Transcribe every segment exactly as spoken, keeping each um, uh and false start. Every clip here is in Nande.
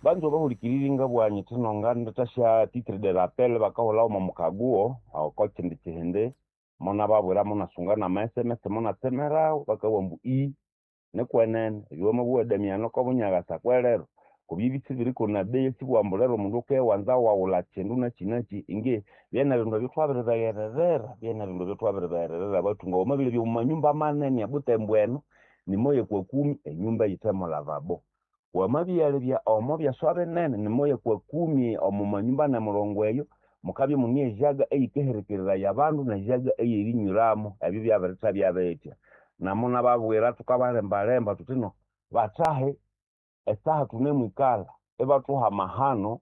Banza bahulikiriri ngabugha nyithi nongandetasya titre de rappel bakahulhawo omo mukaguo oko kyindi kihindi monababwira monasunga nama S M S monatsemerawo bakabugha ambu ii nikwenene ebyowamabugha Damiano kobunyagasa kwerero kubya isibiriko na bei sibugha ambu lero omundu akewanza waghulha kyindu nakyi nakyi inge byene bindu ebyo thwabiribeghererera byene bindu ebyo thwabiribeghererera abathunga wamabilhabya omwa manyumba manene ebutembo eno nimoya kwa kumi enyumba eyithemo lavabo wamabyalebya omo byaswa binene nimoya kwa kumi omo manyumba nemurongo eyo mukabya imune ejaga eyikaherekereraya abandu nejaga eyerinywiramo ebyo byabirithabya bitya namunababwira thukabalembalemba thuthi no bathahe esaha thunemwikalha ibathuha amahano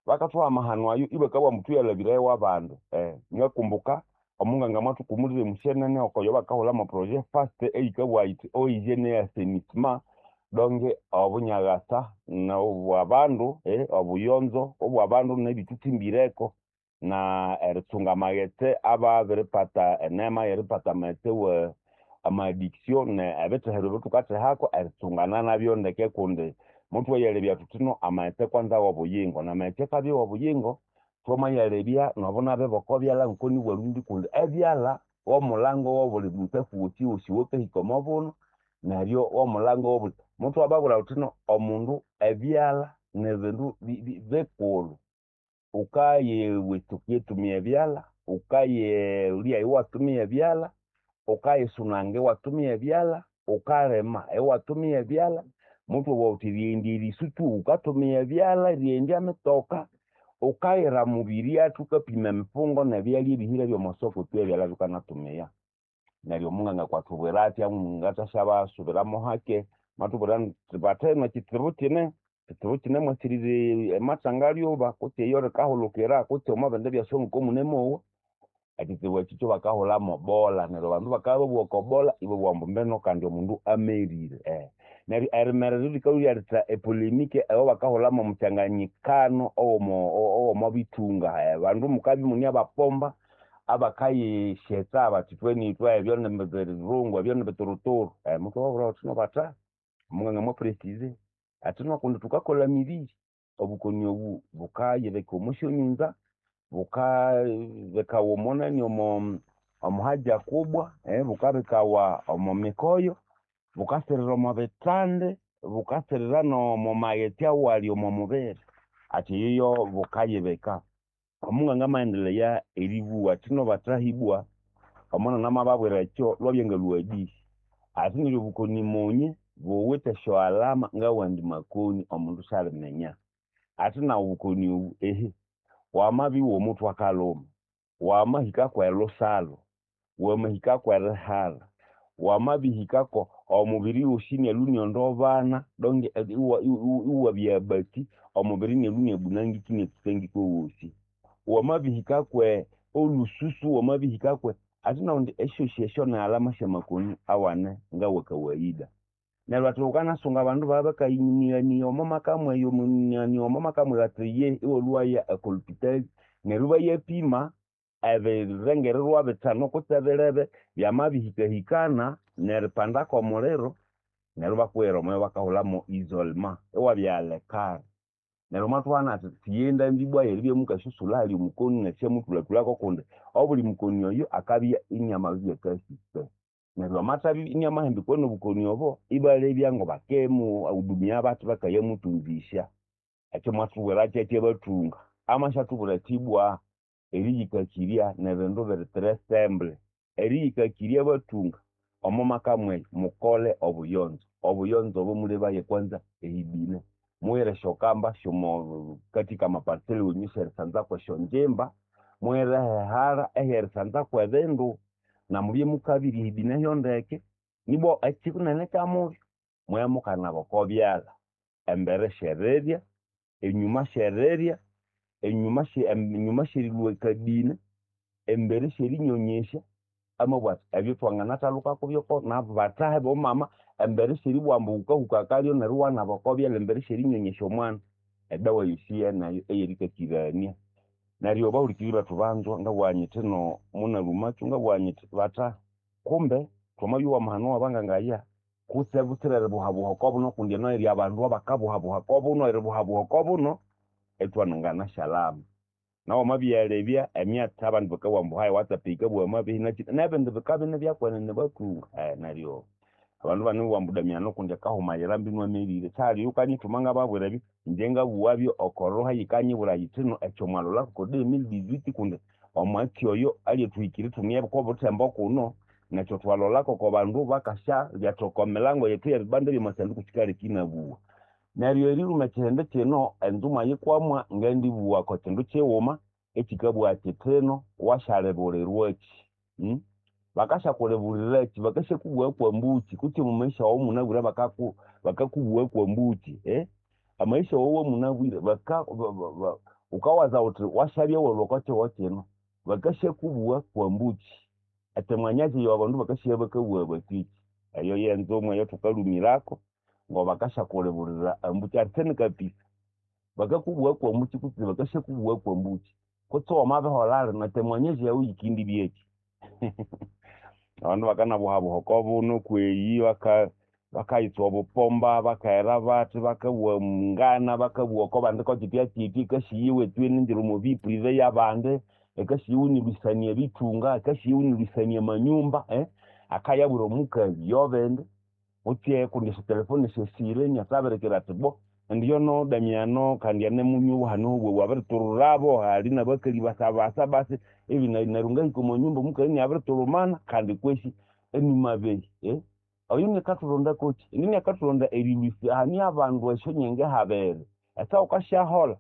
bakathuha amahano ayo ibakabugha ambu thuyalhabiraye wabandi eh ngakumbuka omunganga mwathukumulira emusyenene okoyo bakahulhamo projet fast eyikabugha yithi eau hygiène et assainissement donge obunyagasa nobwabandu eh obuyonzo obwabandu nebithuthimbireko na eritsunga amaghetse ababiripata enema yeripata amaghetse wa ama addiction ne ebithehero ebithukathehako eritsungana nabyo ndeke kundi muthwayalebya thuthi no amaghetse kwanza wobuyingo namaghetse akabya wobuyingo thwamayalebya nobunabi bokobyalha ngoko nibwarundi kundi ebyalha womulango wobuli mutsafu wosi wosi owakahika omobuno neryo womulango wobuli muthwababwira thuthi no omundu ebyalha nibindu bikulhu wukayiwitsuka erithumia ebyalha wukayilya iwatumia ebyalha wukayisunanga iwatumia ebyalha wukalima iwatumia ebyalha muthwabugha thuthi erighenda erisu tu wukatumia ebyalha erighenda emitoka wukayira omubiryathu wukapima emifungo nebyalya ebihire byomwasoko tu ebyalha bikanatumia neryo omunganga akwathubwira athya ngathasyabasuramo hake mwathubwira indi bathaheno ekitsibu kine ekitsibu kinemwasirira amathanga lhuba kutse eyo likahulukira kutse omwabindi byaswa ngokomunemowa ekitsibu ekyo kyabakahulhamo bola neryo abandu bakabya babugha okobola ibabugha ambu mbino kandi omundu amerire eh neryo erimerera likalhwa lyaletha epolemike eyabakahulhamo omukyanganyikano owomo owomobithunga abandu mukabya imune abapomba abakayisyetsa bathi ithwe nithwe ebyo nibirungu ebyo nibituruturu muthwababwira thuthi no bathahi omunganga mwa precize athi no kundi thukakolha emibiri obukoni obu bukayibika omwasyonyunza bukabikawa omonani omo omohaja kubwa bukabikawa omo mikoyo bukasirira omo bithandi bukasirira nomo maghetse awali omo mubiri athi eyoyo bukayibika omunganga amaendelea eribugha athi no bathahibwa omunene amababwira ekyo lwabya ngalhwa hadisi athi neryo obukoni munye buwithe esyoalama ngawandi makoni omundu syaliminya athi naghu obukoni obu ehe wamabya iwomuthwe akalhuma wamahika kwelusalhu wamahika kwerihalha wamabihikako omubiri wosi inalhwa iniondobana donge iwabya abati omubiri inalhwa iniabunangika iniatsuka wosi wamabihika kwe olhususu wamabihikakwe athi nakundi esyosi esyo ni alama syamakoni awane ngawakawaida neryo athi wukanasunga abandu babya bakayinighaniya omwamaka mweyo omwamaka mweyo athi iye iwalhwaya okolhupitali neryo ibayapima ebirengererwa bithanu kutse bilebe byamabihikahikana neripanda kwomuliro neryo ibakuhera omo bakahulhamo isolement iwabya alekare neryo mwathuhana athi thuye ndambi ibwa yeribya mukasusulha ahali omukoni nerisyamuthulhathulhako kundi obuli mukoni oyo akabya iniamabibya akasike neryo amathabya iniamahambikwa nobukoni obo ibalebya ngobakemuhudumia bathi bakayamuthunzisya ekyo mwathubwira kyekyo abathunga amasyathubwira athi ibwa eriyikakirya nibindu biri très simple eriyikakirya abathunga omo maka mweyo mukole obuyonzo obuyonzo obo mulebaye kwanza ehibine mughere esyokamba syomo katika amaparcele wenyu syerisanzako esyonjimba mughere ehehara ehyerisanzako ebindu namubye mukabirya ehibine hyondeke nibwa ekyinene kyamubyo mubye mukanaba okobyalha embere syerirya enyuma syerirya enyuma enyuma syerilhwa akabine embere syerinyonyesya amabugha athi ebyo thwanganathalhuka kubyo nabathahi bomama embere syeribugha ambu wukahuka akalyo neryo iwanaba okobyalha embere syerinyonyesya omwana edawa yosi yeneyo eyerikakirania neryo bahulikiriri bethu banzwa ngabugha nyithi no munalhumakyo ngabugha nyithi bathahi kumbe thwamabya owa mahano wabanganga aya. Kutse butsira eribuhabuha oko buno kundi eno eri abandu abakabuhabuha oko buno eribuhabuha oko buno ithwananganasyalama. Nawu wamabyalebya emyatsi abandu bakabugha ambu hayi WhatsApp yikabugha amabehi nakyi nebindi bikabya inibyakwenene bathunga neryo abandu ibanimubugha ambu Damiano kundi akahumayira mbinu amerire sihali oyukanyithuma ngababwira ebyo ingye ngabuwabyo oko roho eyikanyibwira yithino ekyo mwalholako oko deux mille dix-huit kundi omwatsi oyo alyathuhikira ithune okobuthembo kuno nekyo thwalholako oko bandu bakasyalhyatha oko milango yethu eyebibanda byamasanduku kyikaleka inabugha. Neryo eriluma ekyihindi kyino enzumwa yikwamwa ngendibugha oko kyindu kyighuma ekyikabugha kyithino wasyalibulirwakyi bakasyakulibuliraki bakasyakubugha kwambuki kutse omo maisha wawu owamunabwire bakaku bakakubugha kwambuki amaisha wawu awamunabwire baka wukawaza wuthi wasyabya walhwa oko kihugho kino bakasyakubugha kwambuki ati mwanya ki abandu bakasigha bakabugha bathiki eyo yenzumwa eyathukalhumirako ngobakasyakulibulira ambuki arisene kapisa bakakubugha kwambuki kutse bakasyakubugha kwambuki kutse wamabiholha lino etemwanyazi yawu yikindibyeki abandu bakanabuhabuha oko buno kweyi baka bakayitswa obupomba bakaghera bathi bakabugha ngana bakabugha oko bandi kokyitya kyitya yikasiya iningira omo vie privé yabandi yikasiya iwunilwisania ebithunga yikasiya iwunilwisania amanyumba akayabwira omukali yobindi kutse kundi esyotelefone syesire inathabirikira athi bo indi yono Damiano kandi anemunywa hano wabiritururabo hali nabakali basabasa basi ebi neryo ngahika omo nyumba omukali inabiriturumana kandi kwesi enimabehi oyo niakathulonda kokyi indi iniakathulonda erilwisya hania abandu esyonyenge habiri esa wukasyaholha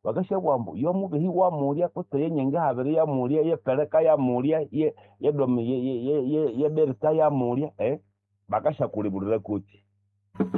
bakasyabugha ambu yomubehi wamulya kutse yenyenge habiri yamulya yepeleka yamulya ye Berita yamulya bakasyakulibulira kokyi.